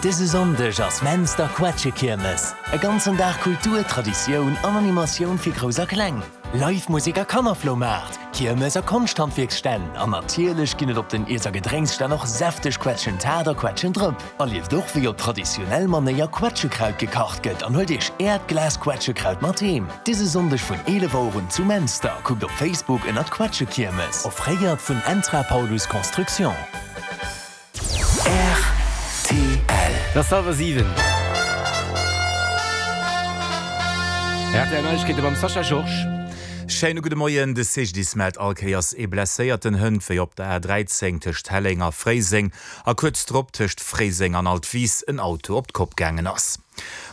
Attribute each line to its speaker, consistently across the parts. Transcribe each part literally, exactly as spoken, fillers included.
Speaker 1: Dëse Sonndeg ass Menster Quetschekiermes. E ganzen Dag Kultur, Traditioun an Animatioun fir Grouss a Kleng. Live Musek a Kannerfloumaart, Kiermes a Konschthandwierksstänn an natierlech ginn et op den Iess a Gedrénksstänn och säfteg Quetschentaart a Quetschendrëpp. Erlieft och wéi op traditionell Manéier Quetschekraut gekacht gëtt an huelt iech äert Glas Quetschekraut mat heem. Dëse Sonndeg vun eelef Auer un zu Menster. Kuckt op Facebook ënnert Quetschekiermes. Offréiert vun Entra Paulus Construction.
Speaker 2: Rtl. Et ass hallwer siwen. Rtl Neiegkeete mam Sascha Georges.
Speaker 3: Schéine gudde Moien. De C G D I S mellt all Kéiers ee Blesséierten hënt, wéi op der A dräizéng tëscht Helleng a Fréiseng a kuerz drop tëscht Fréiseng an Altwis en Auto op d'Kopp gaangen ass.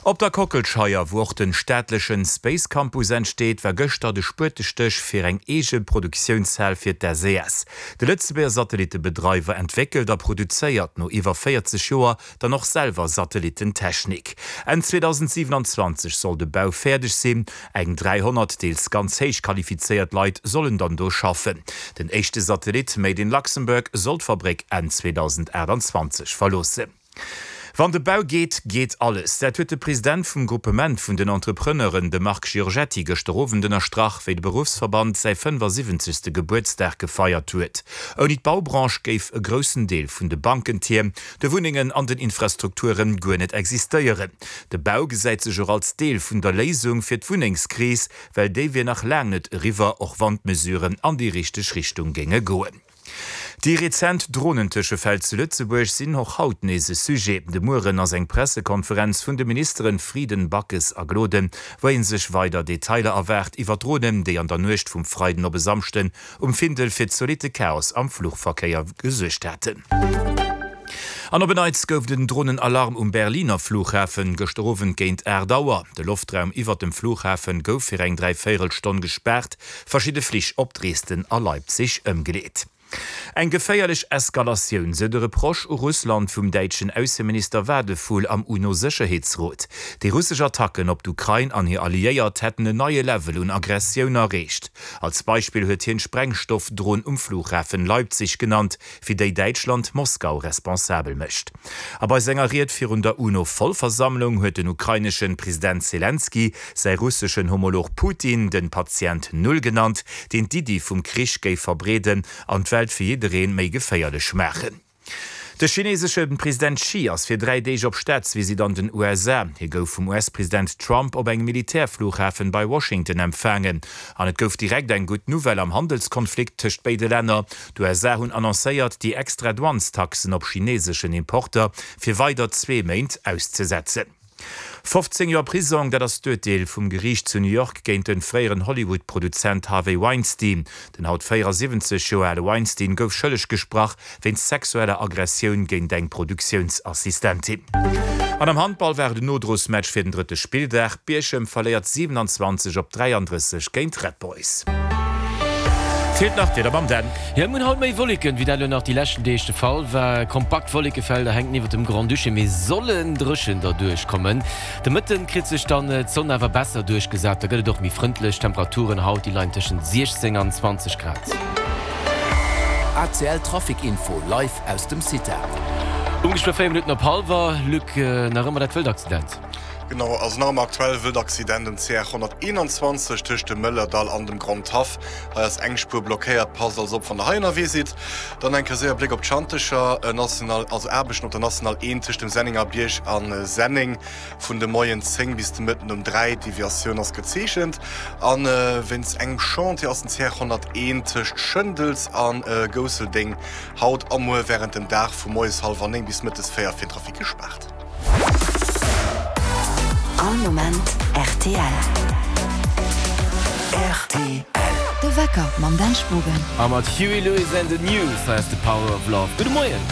Speaker 3: Op der Kockelscheier, wou och de staatleche Space Campus entsteet, war gëschter de Spuetestéch fir eng eege Produktiounshal fir d'S E S. De Lëtzebuerger Satellittebedreiwer entwéckelt a produzéiert no iwwer véierzeg Joer dann och selwer Satellitten-Technik. Enn zweedausendsiewenanzwanzeg soll de Bau fäerdeg sinn. Eng dräihonnert deels ganz héich qualifizéiert Leit sollen dann do schaffen. Den éischte Satellit Made in Luxembourg soll d'Fabréck Enn zweedausendaachtanzwanzeg verloossen. Wann de Bau geet, geet alles. Dat huet de President vum Gruppement vun den Entrepreneuren, de Marc Giorgetti, gëschter Owend ënnerstrach, wéi de Beruffsverband säi fënnefasiwwenzegste Gebuertsdag gefeiert huet. Ouni d'Baubranche géif e groussen Deel vun de Bankentierm, de Wunnengen an den Infrastrukture guer net existéieren. De Bau gesäit sech och als Deel vun der Léisung fir d'Wunnengskris, well déi wier nach laang net eriwwer, och wann d'Mesuren an déi richteg Richtung géinge goen. Déi rezent Dronentëschefäll zu Lëtzebuerg sinn och haut nees e Sujet. De Mueren ass eng Pressekonferenz vun de Ministeren Frieden, Backes a Gloden, wou ee sech weider Detailer erwaart iwwer Dronen, déi an der Nuecht vum Freiden op e Samschden um Findel fir zolitte Chaos am Fluchverkéier gesuergt haten. An op en Neits gouf et en Dronenalarm um Berliner Flughafen gëschter Owend géint aacht Auer. De Loftraum iwwer dem Flughafen gouf fir eng Dräivéierelstonn gespaart, verschidde Flich op Dresden a Leipzig ëmgeleet. Eng geféierlech Eskalatioun, sou de Reproche u Russland vum däitschen Ausseminister Wadephul am UNO-Sécherheetsrot. Déi russesch Attacken op d'Ukrain an hir Alliéiert hätten en neie Level un Aggressioun erreecht. Als Beispill huet hien d'Sprengstoffdron um Flughafen Leipzig genannt, fir déi Däitschland Moskau responsabel mécht. A bei senger Ried virun der UNO-Vollversammlung huet den ukrainesche President Selenskyj säi russeschen Homolog Putin den Patient Null genannt, deen d'Iddi vum Krich géif verbreeden an d'Welt fir jidderee méi geféierlech maachen. De chinesesche President Xi ass fir dräi Deeg op Staatsvisitt an den U S A. Hie gouf vum U S-President Trump op engem Militärflughafen bei Washington empfaangen. An et gouf direkt eng gutt Nouvelle am Handelskonflikt tëscht béide Länner. D'U S A hunn annoncéiert, déi extra Douanestaxen op chineseschen Importer fir weider zwee Méint auszesetzen. fofzéng Joer Prisong, dat ass d'Urteel vum Geriicht zu New York géint de fréieren Hollywood-Produzent Harvey Weinstein. Den haut véierasiwwenzeg Joer ale Weinstein gouf schëlleg gesprach wéinst sexueller Aggressioun géint eng Produktiounsassistentin. An am Handball war et en Nodrosmatch fir den drëtte Spilldag. Bierchem verléiert siewenanzwanzeg op dräiandrësseg géint Red Boys. Feelt nach d'Wieder mam Dan.
Speaker 2: Jo, mir hunn haut méi Wolleken, wéi dat elo nach déi leschten Deeg de Fall war. Kompakt Wollekefelder hänken iwwert dem Grand-Duché, mee sollen dréchen derduerch kommen. De Mëtten kritt sech dann d'Sonn awer besser duerchgesat, da gëtt et och méi frëndlech. D'Temperaturen haut, déi leien tëschent siechzéng an zwanzeg Grad.
Speaker 4: A C L Trafic Info live aus dem CITA.
Speaker 2: Ongeféier véier Minutten op hallwer, Luc, nach ëmmer dat wëllt Accident.
Speaker 5: Genau, also nach ëmmer aktuell wëllt Accident um C R honnerteenanzwanzeg tëscht dem Mëllerdall an dem Grand Haff. Hei ass eng Spuer blockéiert, passt also op wann der hei ënnerwee sidd. Dann eng Kéier séier Bléck op d'Schantecher, National, also Aarbechten op der National eent tëscht dem Sennenger Bierg a Senneng vun de Moien zéng bis de Mëtten um dräi. D'Deviatioun ass gezeechent. A wéinst engem Chantier ass den C R honnerteent tëscht Schëndels a Gousseldeng haut a muer wärend dem Dag vu moies hallwer néng bis mëttes véier fir den Trafic gespaart.
Speaker 6: All Moment R T L.
Speaker 4: R T L.
Speaker 6: De Wecker mam Dan Spogen.
Speaker 2: A mat Huey Lewis and the News, hei ass The Power of Love. Gudde Moien.